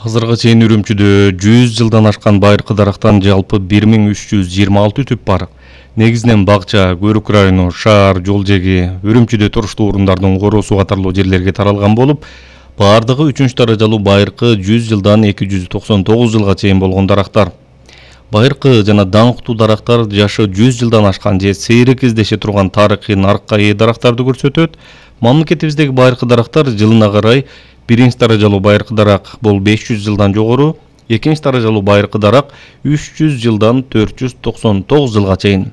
Азырга чейин Үрүмчүдө 100 жылдан ашкан байыркы дарактан жалпы 1326 түп бар. Негизинен бакча, Көрүк району, шаар, жол жеги, Үрүмчүдө туруштуу орундардын короосу катарлуу жерлерге таралган болуп, баардыгы 3 даражалуу байыркы 100 жылдан 299 жылга чейин болгон дарактар. Байыркы жана даңктуу дарактар жашы 100 жылдан ашкан же сейрек кездеше турган тарыхый наркка ээ дарактарды көрсөтөт. Мамлекетибиздеги байыркы дарактар жылына карай биринчи даражалуу байыркы дарак бул 500 жылдан жогору, экинчи даражалуу байыркы дарак 300 жылдан 499 жылга чейин.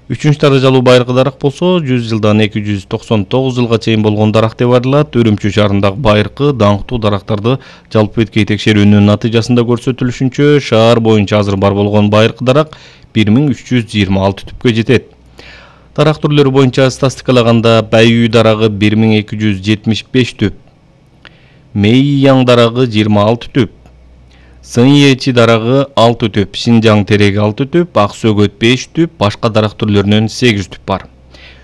Үчүнчү даражалуу байыркы дарак болсо 100 жылдан 299 жылга чейин болгон дарак деп аталат. Үрүмчү шаарындагы байыркы даңктуу дарактарды жалпы беткей текшерүүнүн натыйжасында көрсөтүлүшүнчө шаар боюнча азыр бар болгон байыркы дарак 1326 түпкө жетет. Дарак түрлөрү боюнча статистикалаганда Байүй дарагы 1275 түп, Мэйяң дарагы 26 түп, Сыньечи дарагы 6 түп, Шинжаң тереги 6 түп, Ак сөгөт 5 түп, башка дарак түрлөрүнөн 8 түп бар.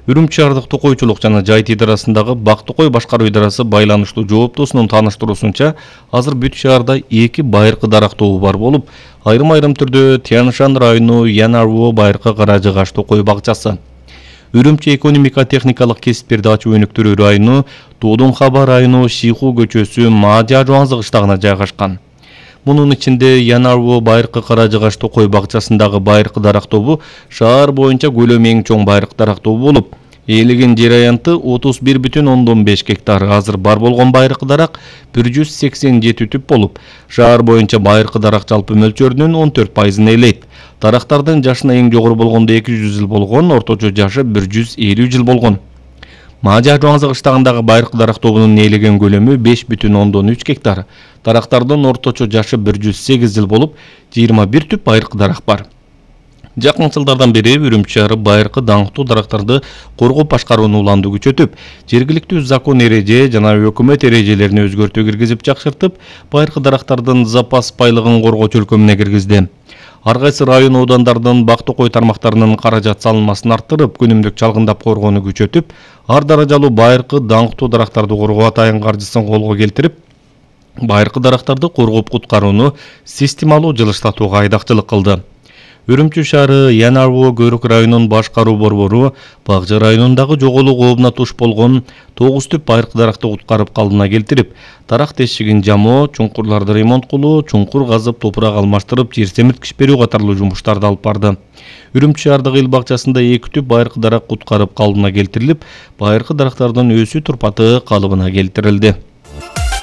Үрүмчү шаардык токойчулук жана жайыт идарасындагы Бак Токой башкаруу идарасы байланыштуу жооптуусунун тааныштыруусунча, азыр бүт шаарда 2 байыркы дарак тобу бар болуп, айрым түрдө Тяншан району Янарво байыркы Каражыгаш Токой бакчасы, Үрүмчү экономика техникалык кесиптерди ачуу өнүктүрүү району Туудунхаба району Шиху көчөсү Мажа Жуаңзы кыштагына жайгашкан. Мунун ичинде Янарво байыркы Каражыгаш Токой бакчасындагы байыркы дарак тобу шаар боюнча көлөмү эң чоң байыркы дарак тобу болуп, ээлеген жер аянты 31,5 гектар. Азыр бар болгон байыркы дарак 187 түп болуп, шаар боюнча байыркы дарак жалпы мөлчөрүнүн 14%-ын ээлейт. Дарактардын жашына эң жогору болгондо 200 жыл болгон, орточо жашы 150 жыл болгон. Мажа Жуаңзы кыштагындагы байыркы дарак тобунун ээлеген көлөмү 5,3 гектар. Дарактардын орточо жашы 108 жыл болуп, 21 түп байыркы дарак бар. Жакын жылдардан бери Үрүмчү шаары байыркы даңктуу дарактарды коргоп башкарууну уланды күчөтүп, жергиликтүү закон эреже жана өкмөт эрежелерине өзгөртүү киргизип жакшыртып, байыркы дарактардын запас байлыгын коргоо чөлкөмүнө киргизди. Ар кайсы район оодандардын Бак Токой тармактарынын каражат салынмасын арттырып, күнүмдүк чалгындап коргоону күчөтүп, ар даражалуу байыркы даңктуу дарактарды коргоо атайын каржысын колго келтирип, байыркы дарактарды коргоп куткарууну системалуу жылыштатууга айдакчылык кылды. Үрүмчү шаары Янарво Көрүк районунун башкаруу борбору Багжы районундагы жоголуу кообуна туш болгон 9 түп байыркы даракты куткарып калыбына келтирип, дарак тесигин жамоо, чуңкурларды ремонт кылуу, чуңкур казып, топурак алмаштырып, жер семирткич берүү катарлуу жумуштарды алып барды. Үрүмчү шаардагы эл бакчасында 2 түп байыркы дарак куткарып калыбына келтирилип, байыркы дарактардын өсүү турпаты калыбына келтирилди.